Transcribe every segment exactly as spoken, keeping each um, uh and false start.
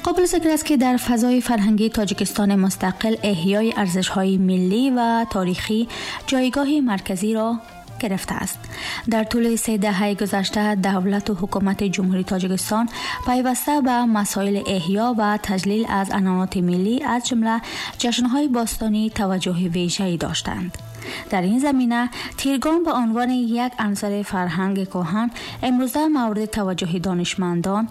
قابل ذکر است که در فضای فرهنگی تاجیکستان مستقل احیای ارزش‌های ملی و تاریخی جایگاه مرکزی را گرفته است. در طول سه دهه گذشته دولت و حکومت جمهوری تاجیکستان پیوسته به مسائل احیا و تجلیل از عنعنات ملی از جمله جشن‌های باستانی توجه ویژه‌ای داشتند. در این زمینه تیرگان به عنوان یک عنصر فرهنگ کهن امروزه مورد توجه دانشمندان،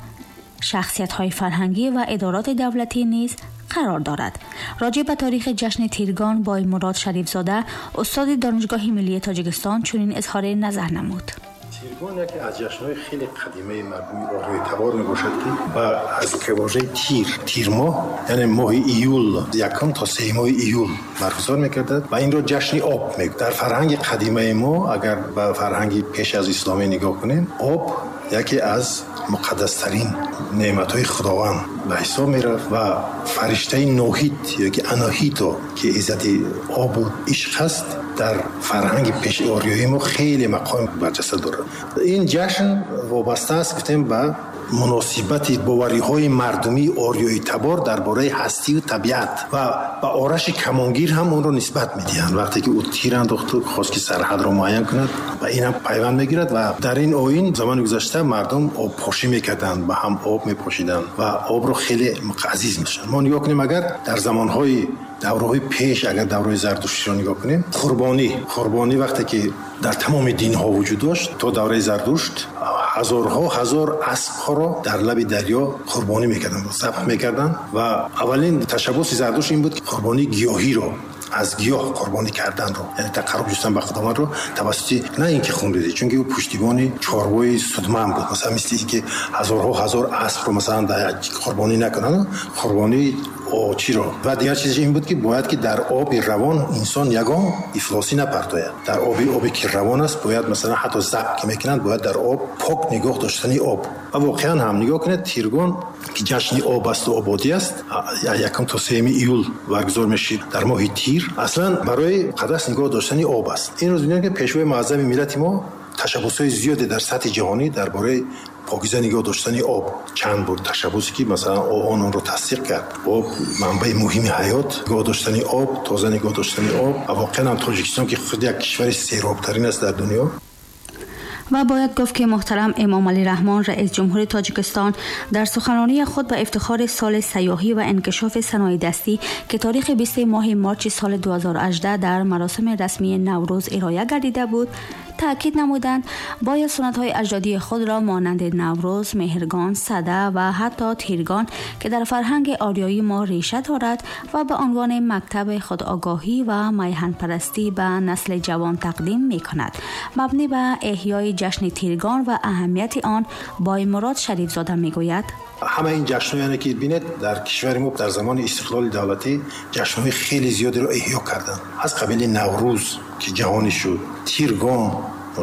شخصیت‌های فرهنگی و ادارات دولتی نیز قرار دارد. راجع به تاریخ جشن تیرگان با مراد شریفزاده، استاد دانشگاه ملی تاجیکستان، چنین اظهار نظر نمود. تیرگان یکی از جشن‌های خیلی قدیمه مردمی آریایی‌تبار می‌باشد که از واژه تیر، تیر ماه، یعنی ماه ایول، یکم تا سه ماه ایول برگزار می‌کردند و این را جشن آب می‌گفتند. در فرهنگ قدیمه ما اگر به فرهنگ پیش از اسلامی نگاه کنیم، آب یکی از مقدس‌ترین نعمت‌های خداوند به حساب می‌رفت و فرشته نوهید یا که اناهیتو که عزت آب و عشق است در فرهنگ پیش آریایی ما خیلی مقام برجسته دارد. این جشن وابسته است گفتیم به مناسبت باوری‌های مردمی آریایی تبار درباره هستی و طبیعت و به آرش کمانگیر هم اون رو نسبت می‌دهند. وقتی که او تیر انداخت و خواست که سرحد را معین کند و این هم پیوند می‌گیرد و در این آیین زمان گذشته مردم آب پاشی می‌کردند و هم آب می‌پاشیدند و آب رو خیلی عزیز می‌شدند. ما نگاه کنیم اگر در زمان‌های دوره‌های پیش، اگر دوره‌های زرتشتی رو نگاه کنیم، قربانی قربانی وقتی که در تمام دین‌ها وجود داشت تا دوره زرتشت هزارها هزار اسب‌ها را در لب دریا قربانی می‌کردند، ذبح می‌کردند و اولین تشبث زرتشت این بود که قربانی گیاهی رو از گیاه قربانی کردن رو، یعنی تقرب جستن به خداوند رو توسط نه اینکه خون ریزی، چون که او پشتیبان چاروای سودمند بود، مثلا مثل اینکه هزارها هزار اسب رو مثلا در قربانی نکنن، قربانی آچی رو. و دیگر چیزش این بود که باید که در آب روان انسان یگان افلاسی نپرتاید. در آب آبی که روان است باید مثلا حتی ذبح که میکنند باید در آب پاک نگاه داشتنی آب. و واقعا هم نگاه کنید تیرگان که جشن آب است و آبادی است، یکم تا سوم ایول برگزار میشه در ماه تیر، اصلا برای قدس نگاه داشتنی آب است. این روز می‌بینیم که پیشوای معظم ملت ما تشبث‌های زیادی در سطح جهانی درباره پاکیزه نگاه داشتن آب چند بود تشبثی که مثلا آن آن رو تصدیق کرد. آب منبع مهم حیات، نگاه داشتن آب، تازه نگاه داشتن آب. و واقعا هم تاجیکستان که خود یک کشور سیراب‌ترین است در دنیا. و باید گفت که محترم امام علی رحمان رئیس جمهور تاجیکستان در سخنرانی خود به افتخار سال سیاحی و انکشاف صنایع دستی که تاریخ بیست ماه مارچ سال دو هزار و هجده در مراسم رسمی نوروز ارائه گردیده بود، تأکید نمودند باید سنت‌های اجدادی خود را مانند نوروز، مهرگان، سده و حتی تیرگان که در فرهنگ آریایی ما ریشه دارد و به عنوان مکتب خودآگاهی و میهن پرستی به نسل جوان تقدیم می‌کند، مبنی بر احیای جشن تیرگان و اهمیت آن با مراد شریفزاده میگوید: همه این جشن‌ها، یعنی که ببینید در کشور ما در زمان استقلال دولتی جشن‌های خیلی زیادی رو احیا کردن، از قبیل نوروز که جهانی شد، تیرگان،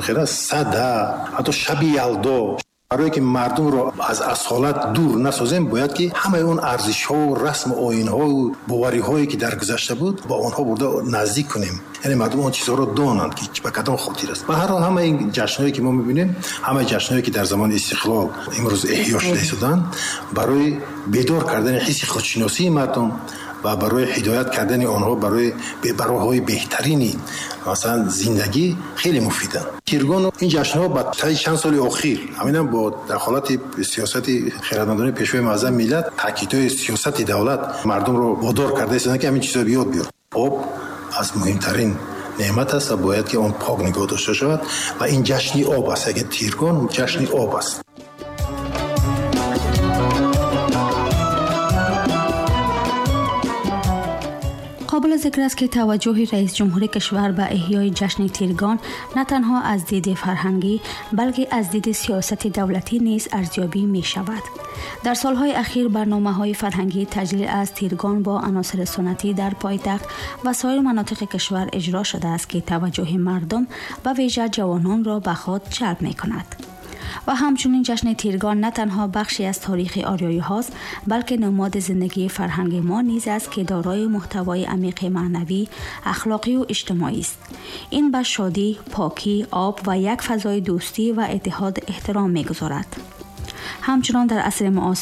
خیلی سده، حتی شب یلدا. برای که مردم رو از اصالت دور نسازیم باید که همه اون ارزش‌ها و رسم و آیین‌ها و باوری‌هایی که در گذشته بود با آنها برده نزدیک کنیم، یعنی مردم اون چیزها رو دانند که به کدام خاطر است. و هر حال همه این جشن‌هایی که ما می‌بینیم، همه جشن‌هایی که در زمان استقلال امروز احیا شده شدن، برای بیدار کردن حس خودشناسی مردم و برای هدایت کردن آنها برای راه‌های بهترینی مثلا زندگی خیلی مفیدن. تیرگان این جشن‌ها با طی چند سال اخیر، همینم با دخالت سیاست خیرمندانه پیشوای معظم ملت، تاکیدهای سیاست دولت مردم رو وادار کرده است که همین چیزا بیاد بیار. آب از مهمترین نعمت است و باید که آن پاک نگاه داشته شود و این جشن آب است. اگه تیرگان جشن آب است. قابل ذکر است که توجه رئیس جمهور کشور به احیای جشن تیرگان نه تنها از دید فرهنگی بلکه از دید سیاست دولتی نیز ارزیابی می شود. در سالهای اخیر برنامه‌های فرهنگی تجلیل از تیرگان با عناصر سنتی در پایتخت و سایر مناطق کشور اجرا شده است که توجه مردم و ویژه جوانان را به خود جلب می کند. و همچنین جشن تیرگان نه تنها بخشی از تاریخ آریایی هاست بلکه نماد زندگی فرهنگ ما نیز است که دارای محتوای عمیق معنوی، اخلاقی و اجتماعی است. این به شادی، پاکی، آب و یک فضای دوستی و اتحاد احترام می‌گذارد. همچنان در عصر معاصر